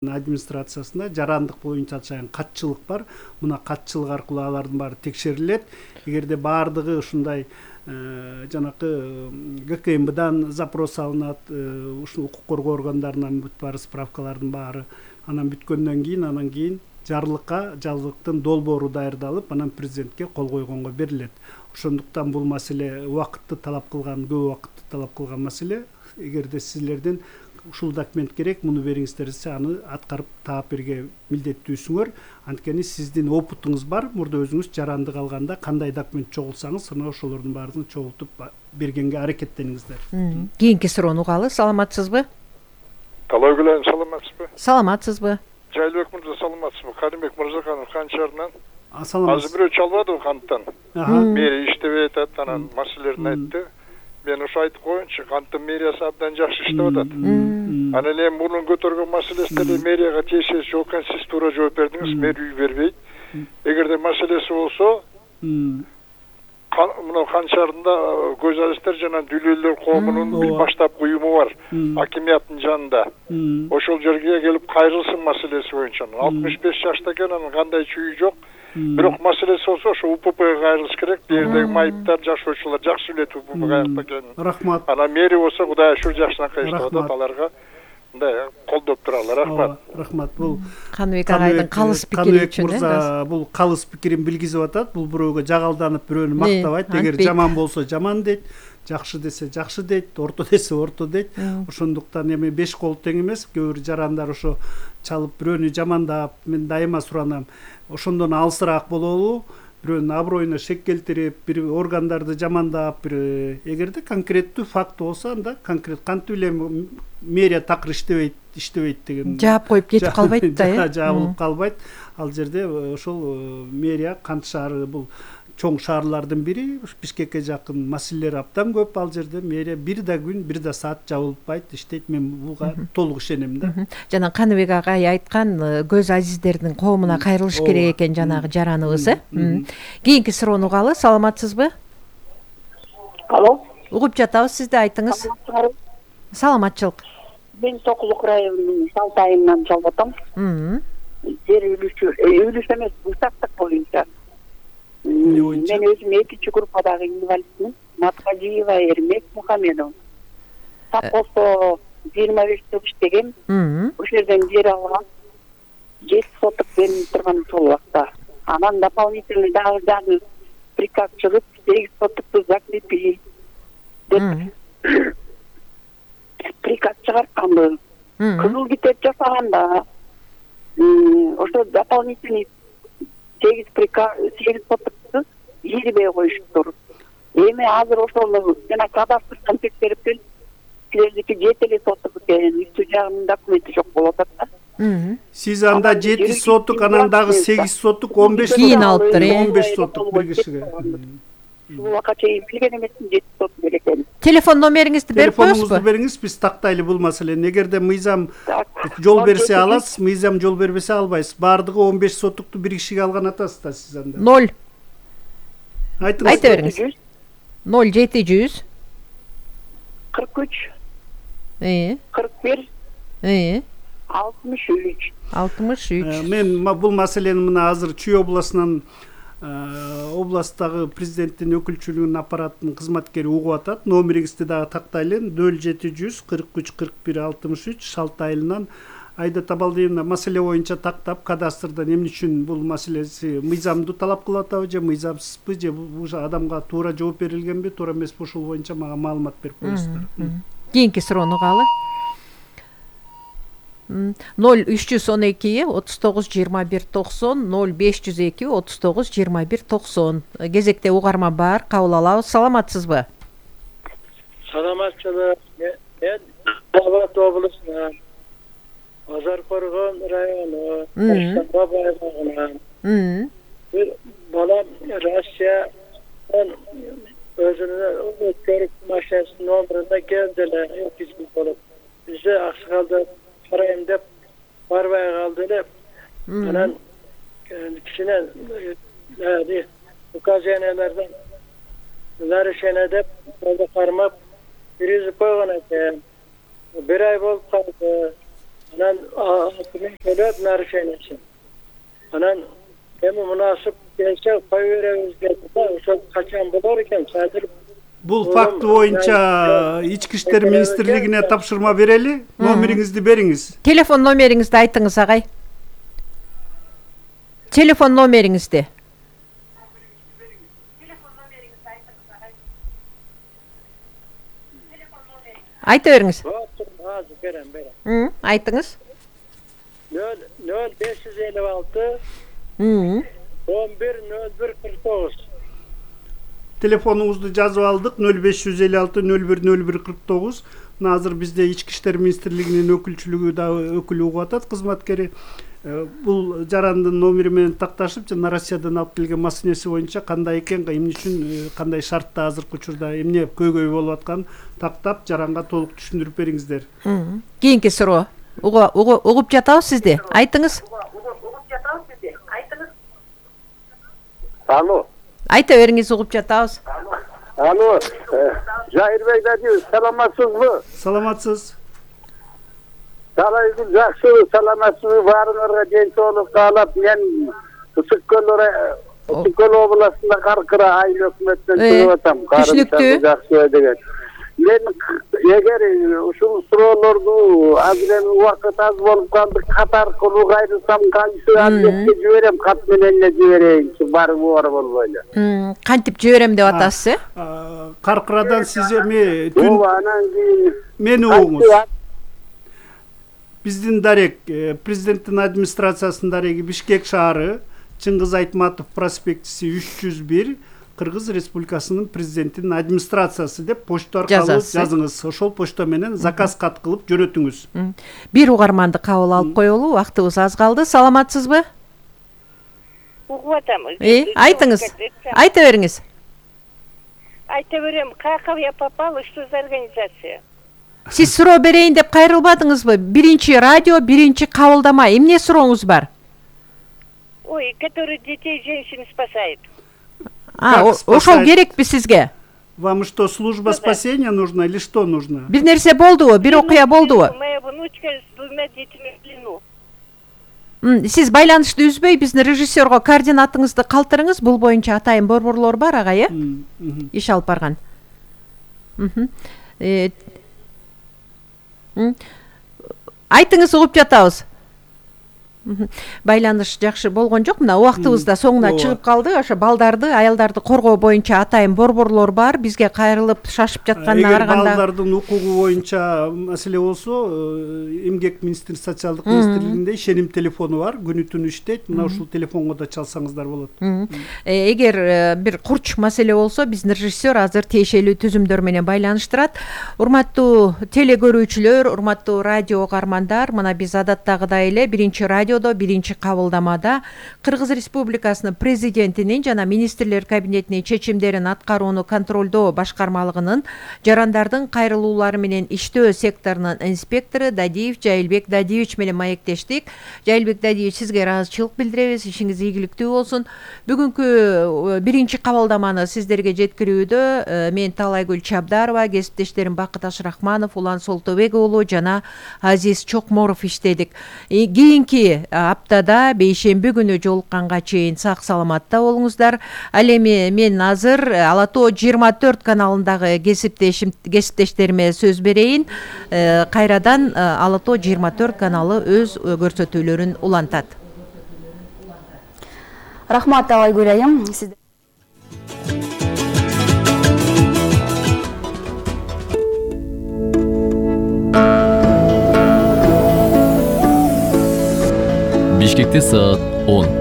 администрациясында жарандык боюнча чыган катчылык бар. Мына катчылык аркылуу алардын баары текшерилет. Эгерде баардыгы ушундай жанакы ГКМБдан запрос алынат, ушул укук коргоо органдарынан бүт баары справкалардын баары анан бүткөндөн кийин жарлыктын долбоору даярдалып, анан президентке кол койгонго берилет. Ошондуктан бул маселе убакытты талап кылган, көп убакытты талап кылган маселе. Эгерде силерден ушул документ керек, муну бериңиздер десе, аны аткарып таап берге милдеттүүсүңөр. Анткени сиздин опытыңыз бар. Мурда өзүңүз жарандык алганда кандай документ чогулсаңыз, аны ошолордун баарын чогултуп бергенге аракеттениңиздер. Кийинки суроону угалы. Саламатсызбы? Талай келем, саламатсызбы? Саламатсызбы? Жайлыбек мырза, саламатсызбы? Каримбек Мырзаканов Канчарынан. Саламатсыз. Азыр бирөө чалбады канттан. Мэрия иштебей атат, анан маселелерин айтты. Мен ушу айтып коеюнчу, канттын мэриясы абдан жакшы иштеп атат. Анан эми мунун көтөргөн маселесине мэрияга тиешеси жок экен, сиз туура жооп бердиңиз, мэрия үй бербейт. Эгерде маселеси болсо, мына Канчарында көзалистер жана дүлөлөр коомунун бир баштапкы уюму бар, акимияттын жанында. Ошол жерге келип кайрылсын маселеси боюнча. 65 жашта экен, анан кандай чүйү жок. Бирок маселеси болсо, ошо УППга кайрылыш керек. Бирдеги майыптар, жашоочулар жакшы билет УППга каякта экенин. Рахмат. Анан мэрия болсо, Кудай ушул жакшынакай иштеп атат, аларга мындай колдоп туралар. Рахмат. Рахмат. Бул Каныбек агайдын калыс пикири үчүн. Мырза бул калыс пикирин билгизип атат. Бул бирөөгө жагалданып, бирөөнү мактабайт. Эгер жаман болсо жаман дейт, жакшы десе жакшы дейт, орто десе орто дейт. Ошондуктан эми беш кол тең эмес. Кээ бир жарандар ошо чалып бирөөнү жамандап, мен дайыма суранам. Ошондон алысыраак бололу, бирөөнүн аброюна шек келтирип, бир органдарды жамандап, эгерде конкреттүү факт болсо, анда конкрет кантип эле мэрия такыр иштебейт деген. Жаап коюп кетип калбайт да, жабылып калбайт. Ал жерде ошол мэрия Кант шаары бул чоң шаарлардын бири, Бишкекке жакын маселелер абдан көп. Ал жерде мэрия бир да күн, бир да саат жабылбайт, иштейт. Мен буга толук ишенем да. Жана Каныбек агай айткан көз азиздердин коомуна кайрылыш керек экен жанагы жараныбыз, Кийинки суроону угалы. Саламатсызбы? Алло. Угуп жатабыз, сиз да айтыңыз. Саламатчылык. Мен Токулук районунун Салтайынан чалып атам. Жер үлүш эмес, участок боюнча. Мен өзүм экинчи группадагы инвалидмин. Маткажиева Эрмек Мухамедов. Так болсо 25 жыл иштегем. Ошол жерден жер алгам. 7 соток берилип турган ошол убакта. Анан дополнительный дагы приказ чыгып 8 сотокту закрепи деп приказ чыгартканбы. Кызыл китеп жасаганда ошо дополнительный 8 сотокту жербей коюшуптур. Эми азыр ошону жана кадастрдан текшерип келип, силердики 7 соток экен, үстү жагынын документи жок болуп атат да. Сиз анда 7 соток, анан дагы 8 соток, 15 соток кийин алыптыр, 15 соток бир кишиге. Ушул убакка чейин билген эмесмин 7 соток керек экенин. Телефон номериңизди берип коесузбу? Телефонуңузду бериңиз, биз тактайлы бул маселени. Эгерде мыйзам жол берсе аласыз, мыйзам жол бербесе албайсыз. Бардыгы 15 сотокту бир кишиге алган атасыз да сиз анда. 0. Айтыңыз. Айта бериңиз. 0700 43 41 63. Мен бул маселени мына азыр Чүй областынан областтагы президенттин өкүлчүлүгүнүн аппараттын кызматкери угуп атат. Номериңизди дагы тактайлы. 0700 43 41 63 Шалтайынан Айда Табалдиевна маселе боюнча тактап, кадастрдан эмне үчүн бул маселеси мыйзамды талап кылып атабы же мыйзамсызбы, же бул адамга туура жооп берилгенби, туура эмеспи, ушул боюнча мага маалымат берип коесуздар. Кийинки суроону угалы. 0312 39 21 90 0502 39 21 90. Кезекте угарма бар, кабыл алабыз. Саламатсызбы? Саламатчылык. Мен Алматы облусунан Азаркоргон району Бабай аймагынан. Бир балам Россиядан өзүнүн өткөрүп машинасынын номеринде келди эле, экизгил болуп. Бизде аксакалда карайм деп барбай калды эле. Анан кичине указаниялардан нарушение деп жолдо кармап киргизип койгон экен. 1 ай болуп калды. Анан 6000 төлөп нарушениесин. Анан эми мунасып келсе кой беребиз деди да, ошол качан болор экен? Азыр Бул факты боюнча Ички иштер министрлигине тапшырма берели. Номериңизди бериңиз. Телефон номериңизди айтыңыз, агай. Телефон номериңизди. Айта бериңиз. азыр берем. Айтыңыз. 0556 110149. Телефонуңузду жазып алдык. 0556 010149. Мына азыр бизде Ички иштер министрлигинин өкүлчүлүгү да өкүлү угуп атат, кызматкери. Бул жарандын номери менен такташып, жана Россиядан алып келген маселеси боюнча кандай экен, эмне үчүн, кандай шартта азыркы учурда эмне көйгөй болуп атканын тактап жаранга толук түшүндүрүп бериңиздер. Кийинки суроо. Угуп жатабыз сизди. Айтыңыз. Алло. Айта бериңиз, угуп жатабыз. Алло. Жайырбек дадыңыз, саламатсызбы? Саламатсыз. Салайгүл жакшы, саламатсызбы? Баарыңарга ден соолук каалап, мен Ысык Көл областында Каркыра айыл өкмөттөн чыгып атам. Түшүнүктүү. Жакшы деген. Мен эгер ушул суроолорду азыр эми убакыт аз болуп калды, кат аркылуу кайрылсам кайсы адретке жиберем, кат менен эле жиберейинчи, барыбы бар болбойлу. Кантип жиберем деп атасыз, э? Каркырадан сиз эми Анан кийин мени угуңуз. Биздин дарек, президенттин администрациясынын дареги Бишкек шаары, Чыңгыз Айтматов проспектиси 301, Кыргыз Республикасынын президентинин администрациясы деп почта аркылуу жазыңыз. Ошол почта менен заказ кат кылып жөнөтүңүз. Бир угарманды кабыл алып коелу, убактыбыз аз калды. Саламатсызбы? Угуп атам. Айтыңыз. Айта бериңиз. Айта берем, как я попала, что за организация? Сиз суроо берейин деп кайрылбадыңызбы? Биринчи радио, биринчи кабылдама. Эмне сурооңуз бар? Ой, который детей, женщин спасает. Ошол керекпи сизге? Вам что, служба спасения нужна или что нужно? Бир нерсе болдубу? Бир окуя болдубу? Моя внучка с 2 детьми в плену. Сиз байланышты үзбөй биздин режиссерго координатыңызды калтырыңыз. Бул боюнча атайын борборлор бар, агай, э? Иш алып барган. Айтыңыз, угуп жатабыз. Байланыш жакшы болгон жок. Мына убактыбыз да соңуна чыгып калды. Ошо балдарды, аялдарды коргоо боюнча атайын борборлор бар. Бизге кайрылып шашып жатканына караганда. Балдардын укугу боюнча маселе болсо, Эмгек министрлиги, социалдык министрлигинде ишеним телефону бар, күнү түнү иштейт. Мына ушул телефонго да чалсаңыздар болот. Эгер бир курч маселе болсо, биздин режиссер азыр тиешелүү түзүмдөр менен байланыштырат. Урматтуу теле-көрүүчүлөр, урматтуу радио угармандар, мына биз адаттагыдай эле биринчи радиодо, биринчи кабылдамада Кыргыз Республикасынын президентинин жана министрлер кабинетинин чечимдерин аткарууну контролдоо башкармалыгынын жарандардын кайрылуулары менен иштөө секторунун инспектору Дадиев Жайылбек Дадиевич менен маектештик. Жайылбек Дадиевич, сизге ыраазычылык билдиребиз. Ишиңиз ийгиликтүү болсун. Бүгүнкү биринчи кабылдаманы сиздерге жеткирүүдө мен Талайгүл Чабдарова, кесиптештерим Бакыт Ашрахманов, Улан Солтобек уулу жана Азиз Чокморов иштедик. Кийинки аптада бейшемби күнү жолукканга чейин сак саламатта болуңуздар. Ал эми мен азыр Ала Тоо 24 каналындагы кесиптештериме сөз берейин. Кайрадан Ала Тоо 24 каналы өз көрсөтүүлөрүн улантат. Рахмат, Талайгүл айым. Бишкекте саат 10.